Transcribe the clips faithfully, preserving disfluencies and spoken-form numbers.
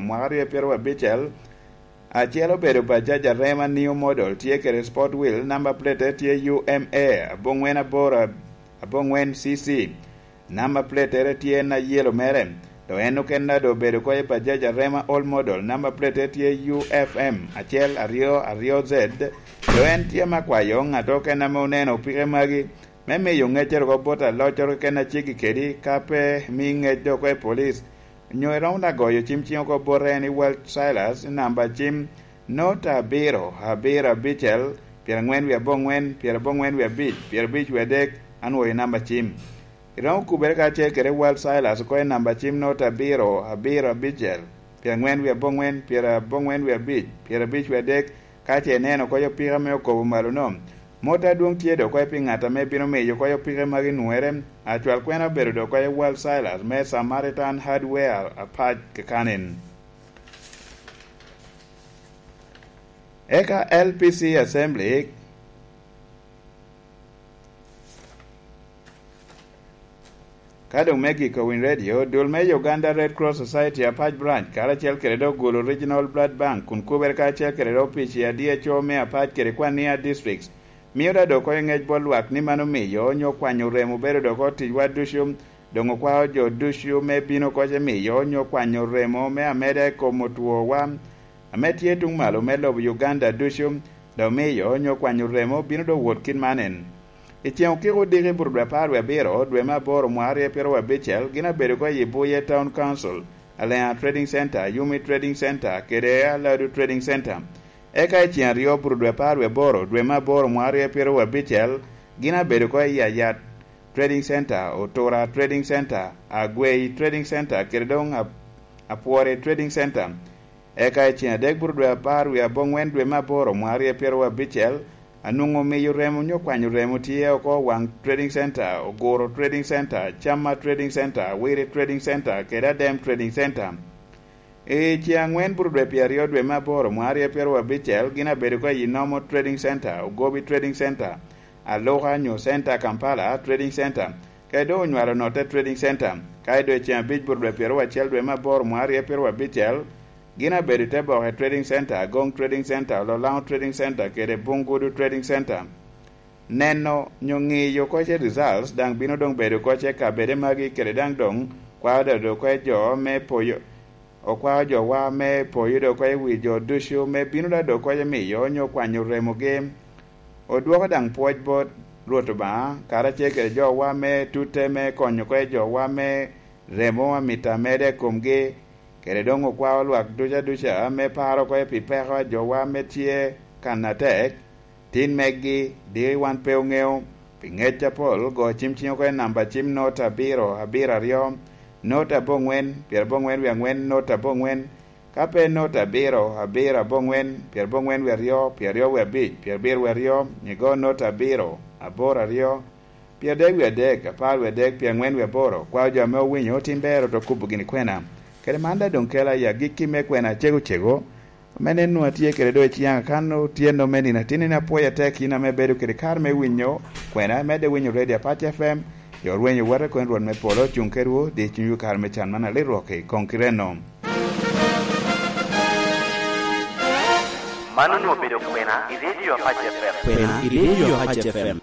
mwaka aryo pyeraryo abicel, acel obedo Bajaj Arema New Model, tye kede Sport Wheel, namba plate tye U M A aboŋwen aboro aboŋwen C C. Namba plate tye na yelo mere. Dok en okene doŋ obedo oko i Bajaj Arema Old Model, namba plate tye U F M acel aryo aryo Z. Dok en tye ame akwayo ŋat okene ame oneno opike magi me miyo ŋeccere oko bot aloccoro keken a ceggi kedi, ka pe mi ŋec doŋ oko i polic, onyo iromo daŋ goyo cim ciŋ oko bote en i Wal Silas i namba cim nota abiro, abiro abicel, pyeraŋwen wie aboŋwen, pyeraboŋwen wie abic, pyerabic wie adek, anwoyo i namba cim. Iromo kubere kacel kede Wal Silas oko i namba cim nota abiro, abiro abicel, pyeraŋwen wie aboŋwen, pyeraboŋwen wie abic, pyerabic wie adek, ka ce ineno oko opika ame okobo malo-no. Mot adwoŋ tye doŋ oko pi ŋat ame bino miyo oko opike magi nwoŋere. Acwal kwena obedo doŋ oko Wal Silas me Samaritan Hardware apac kakanen. Eka L P C Assembly, ka doŋ me giko Winy Radio, dul me Uganda Red Cross Society Apac Branch, karacel kede dok Gulu Regional Blood Bank, kun kubere karacel kede dok opic i D H O me Apac kede Kwania Districts, mio da dok oko i ŋec bot lwak ni man omiyo onyo kwanyo remo obedo dok oko ticwa ducu. Doŋ okwao jo ducu me bino oko ce miyo onyo kwanyo remo me ameda i kom otwowa ame tye tuŋ malo me lobo Uganda ducu, dok miyo onyo kwanyo remo bino doŋ wot kit man en. I ceŋ okiko odiki burudwe apar wie abiro, dwe me aboro mwaka aryo pyeraryo abicel, gin abedo oko i Buye Town Council, Aleŋa Trading Center, Yumi Trading Center, kede Aladu Trading Center. Eka i ceŋ aryo burudwe apar wie aboro, dwe me aboro mwaka aryo pyeraryo abicel, gin abedo oko i Ayat Trading Center, Otura Trading Center, Agwei Trading Center, kede doŋ Ap-, Apwore Trading Center. Eka i ceŋ adek burudwe apar wie aboŋwen dwe me aboro mwaka aryo pyeraryo abicel, anwoŋo miyo remo onyo kwanyo remo tye oko Waŋ Trading Center, Oguro Trading Center, Camma Trading Center, Wiri Trading Center, kede Adem Trading Center. I ceŋ aŋwen burudwe pyeraryo dwe me aboro mwaka aryo pyeraryo abicel, gin abedo oko i Nomo Trading Center, Ogobi Trading Center, Aluka nyo Center Kampala Trading Center, kede doŋ Onywalo Notte Trading Center. Ka i dwe ceŋ abic burudwe pyeraryo acel dwe me aboro mwaka aryo pyeraryo abicel, gin abedo i te Boke Trading Center, Agoŋ Trading Center, Ololaŋo Trading Center, kede Bungudu Trading Center. Neno nyo ŋiyo oko ce results daŋ bino doŋ bedo oko ce kabede magi, kede daŋ doŋ kwao dodo oko i jo me poyo, okwao jowa me poyo doŋ oko i wi jo ducu me bino da doŋ oko ce miyo onyo kwanyo remogi. Odwoko daŋ pwoc bot Rwot Obaŋa, karacel kede jowa me tutte me konyo oko i jowa me remo amito ameda i komgi, kede doŋ okwao lwak duca duca ame paro oko pi peko a jowa ame tye kan atek. Tin megi, diki wan pe oŋeo, pi ŋec apol, go cim ciŋ oko i namba cim not abiro, abiro aryo, not aboŋwen, pyeraboŋwen wie aŋwen, not aboŋwen, ka pe not abiro, abiro aboŋwen, pyeraboŋwen wie aryo, pyeraryo wie abic, pyerabiro wie aryo, igo not abiro, aboro aryo, Pyerdek wie adek, apar wie adek, pyeraŋwen wie aboro, kwao jo ame owinyo tin ber oto kubo gini kwena. Kede man daŋ doŋ kela i agikki me kwena acego cego, ame nen nwoŋo atye kede doŋ i ciyaŋ akan otyeno me nino atin ni apwoyo atek in ame bedo kede kare me winyo kwena, imedde winyo Radio Apac F M, yo rwenyo wate kono Rwot me polo cuŋ kedwu, di cunywu kare me can man alit rwok i koŋ kite-nu. Man onwoŋo obedo kwena i Radio Apac F M. Kwena i Radio Apac F M.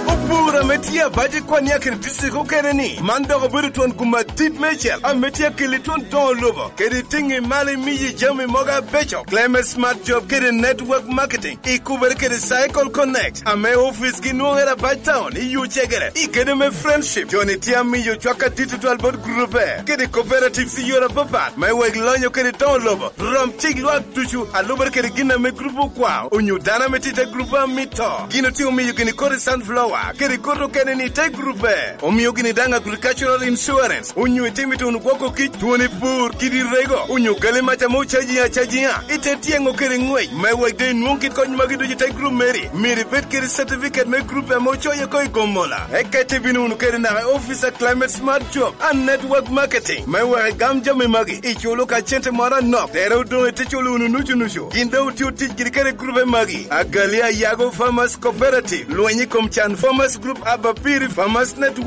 Opur ame tye abac i Kwania kede district okene ni, man dok obedo twon gum adit meicel ame tye akeli twon doŋo lobo kede tiŋi malo imiyi jami mogo abeco. Climate Smart Job kede Network Marketing ikubere kede Cycle Connect ame ofice gi nwoŋere abac town i Yucegere i kede me Friendship. Joni tye amiyo cwak adit tutwal bot gurube kede cooperatives i yore apapat me wek lonyo kede doŋo lobo rom cik lwak ducu, alubere kede gin ame grup okwao, onyo dano ame tye i te grup amito. Gin otye omiyo gini kodi sunflower, kede kodi okene ni te grup. Omio gini daŋ agricultural insurance, onyo itimo i tuno gwoko kic, twoni pur, kidi rego, onyo gali mac ame ocaji acajiŋa, ite tyeŋo kede ŋwec, me wek doŋ inwoŋ kit kony magi ducu i te grup meri. Myero ibed kede certificate me grup ame ocoyo oko i Gomola. Eka ite bino wunu kede naka i office a Climate Smart Job and Network Marketing, me wek igam jami magi, iculo ka cente moro anok, tere odoŋ ite culo wunu nucu nucu. Gin daŋ otye otic giri kede grupe magi, Agali Ayago Farmers Cooperative, Lweny i kom Can Farmers Group, Abapiri Farmers Network,